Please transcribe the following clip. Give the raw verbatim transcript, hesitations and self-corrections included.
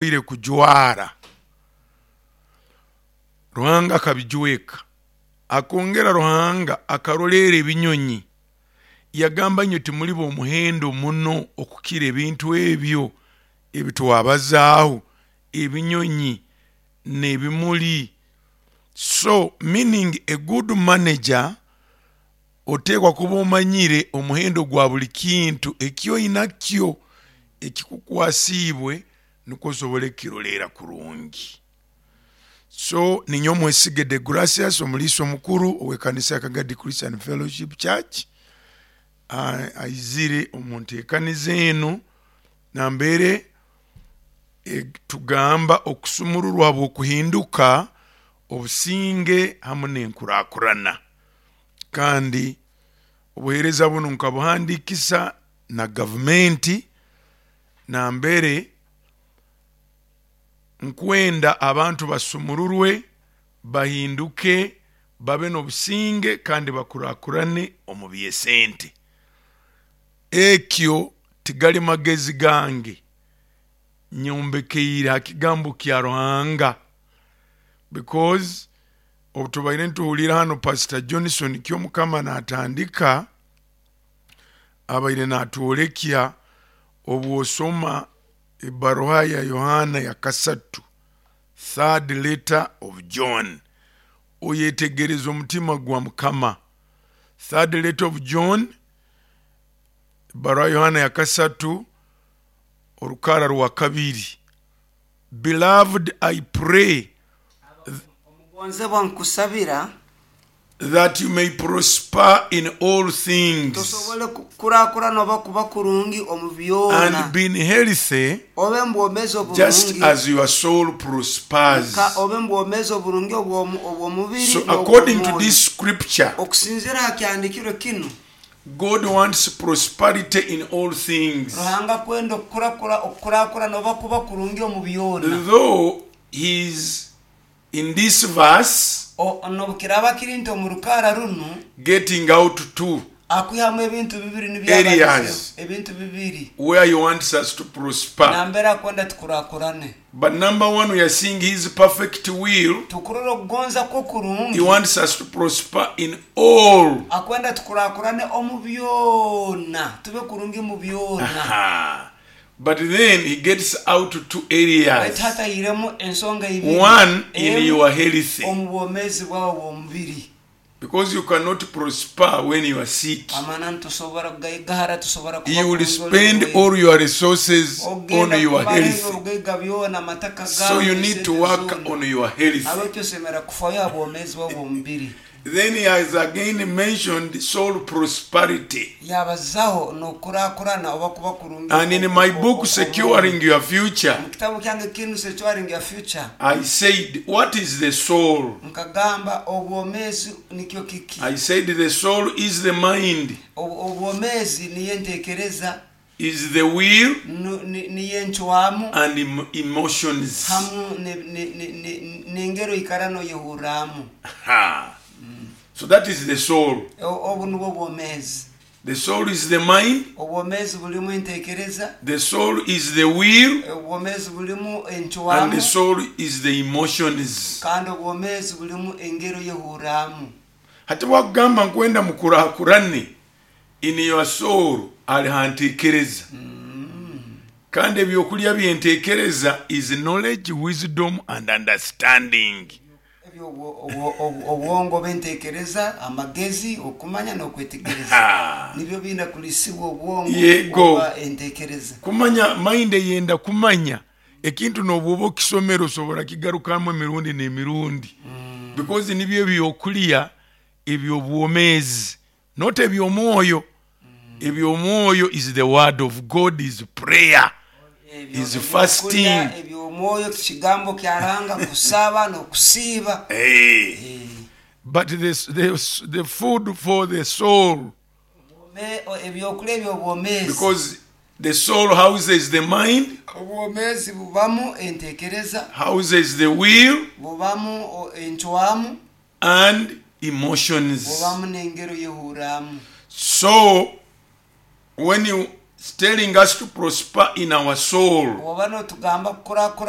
Ire kujwara Ruhanga akabijweka. Akongera Ruhanga akaroleera ebinyonyi, yagamba, inywe timuli b'omuhendo muno okukira ebintu ebyo ebitwabazaaho, ebinyonyi n'ebimuli? So meaning, a good manager oteekwa kuba omanyire omuhendo gwa buli kintu ekyoinakyo ekikukwasiibwe, nukwo osobole kukiroleera kurungi. So ninyowe Mwesige De Gracias, omuliisa omukuru ow'ekanisa ya Kagadi Christian Fellowship Church, aizire omu nteekaniza enu nambere tugamba okusumururwa bw'okuhinduka, obusinge hamu n'enkurakurana. Kandi obuheereza bunu nkabuhandiikisa na gavumenti, nambere nkwenda abantu basumururwe, bahinduke, babe n'obusinge kandi bakurakurane omu by'esente. Ekyo tigali magezi gange, nyombekeire ha kigambo kya Ruhanga, because obu tubaire nituhurira hanu Pastor Johnson Kyomukama natandika, abaire natwolekya obwosoma ebaruha ya Yohana ya kasatu, Third Letter of John, oyetegereza omutima gwa Mukama. Third Letter of John, ebaruha ya Yohana ya kasatu, orukara rwa kabiri: "Beloved, I pray omugonzebwa nkusabira that you may prosper in all things tosobole kukurakurana oba kuba kurungi omu byona and be in health obe mbwomezi just oburungi as your soul prospers." ka obe mbwomezi oburungi obw'omu- obw'omubiri So, according to n'obw'omwoyo. this scripture, Okusinziira ha kyandikirwe kinu, God wants prosperity in all things. Ruhanga kwenda okukurakura okukurakurana oba kuba kurungi omu byona. Though he's in this verse O- n'obukiraaba kiri nti omu rukaara runu getting out two akwihamu ebintu bibiri nibyo areas abalizeho, ebintu bibiri where he wants us to prosper. Nambere akwenda tukurakurane. But number one, we are seeing his perfect will. Tukurora okugonza kwe He okurungi. wants us to prosper in all. Akwenda tukurakurane omu byona, tube kurungi mu byona. Aha. But then he gets out two baitu areas. hatahiremu ensonga ibiri. One, in Emu, your health. omu bwomeezi bwawe bw'omubiri. Because you cannot prosper when you are sick. Amana nitusobora kugaigahara tusobora kuba You will kurungi oli spend murwaire. all your resources on Ogenda your kumara health. obugaiga byona amataka So gawe you need to esente work zoona. on your health. Abekyo osemera kufayo ha bwomeezi bwawe bw'omubiri. Then he has again mentioned soul prosperity. Yabazaho n'okurakurana oba kuba kurungi And in my book, Securing Your Future, mu kitabu kyange kinu, Securing Your Future, I said, "What is the soul?" nkagamba obwomeezi nikyo kiki? I said, "The soul is the mind, Ob- obwomeezi niyo entekereza, is the will, nu- ni- niyo encwamu and em- emotions." hamu ne- ne- ne- ne- n'engero ikara noyehurramu. Ha. So that is the soul. O- obu nubwo bwomeezi. The soul is the mind, Obwomeezi bulimu entekereza, the soul is the will, obwomeezi bulimu and the encwamu, soul is the emotions. kandi obwomeezi bulimu engero yehurramu. Hati bwakugamba nkwenda mukurakurane in your soul, ali hantekereza, kandi ebyokulya byentekereza is knowledge, wisdom and understanding. Ebyo obwo- obwo- obwo- obwongo bw'entekereza, amagezi, okumanya n'okwetegereza Ha. nibyo binda kulisibwa obwongo Yego. oba entekereza. Kumanya mind eyenda kumanya ekintu, n'obwoba okisomera osobora kigarukamu emirundi n'emirundi, because nibyo ebyokulya ebyobwomeezi, not ebyomwoyo. Ebyomwoyo is the word of God, is prayer, Ebyo- is ebyokulya fasting. Ebyomwoyo kigambo kyaranga kusaba n'okusiiba. Hey. Eh, But this, this, the food for the soul, me- o- ebyokulya ebyobwomeezi, because the soul houses the mind, obwomeezi bubamu entekereza, houses the will, bubamu o- encwamu, and emotions. bubamu n'engero yehurramu. So, when you telling us to prosper in our soul, Oba notugamba kukurakurana.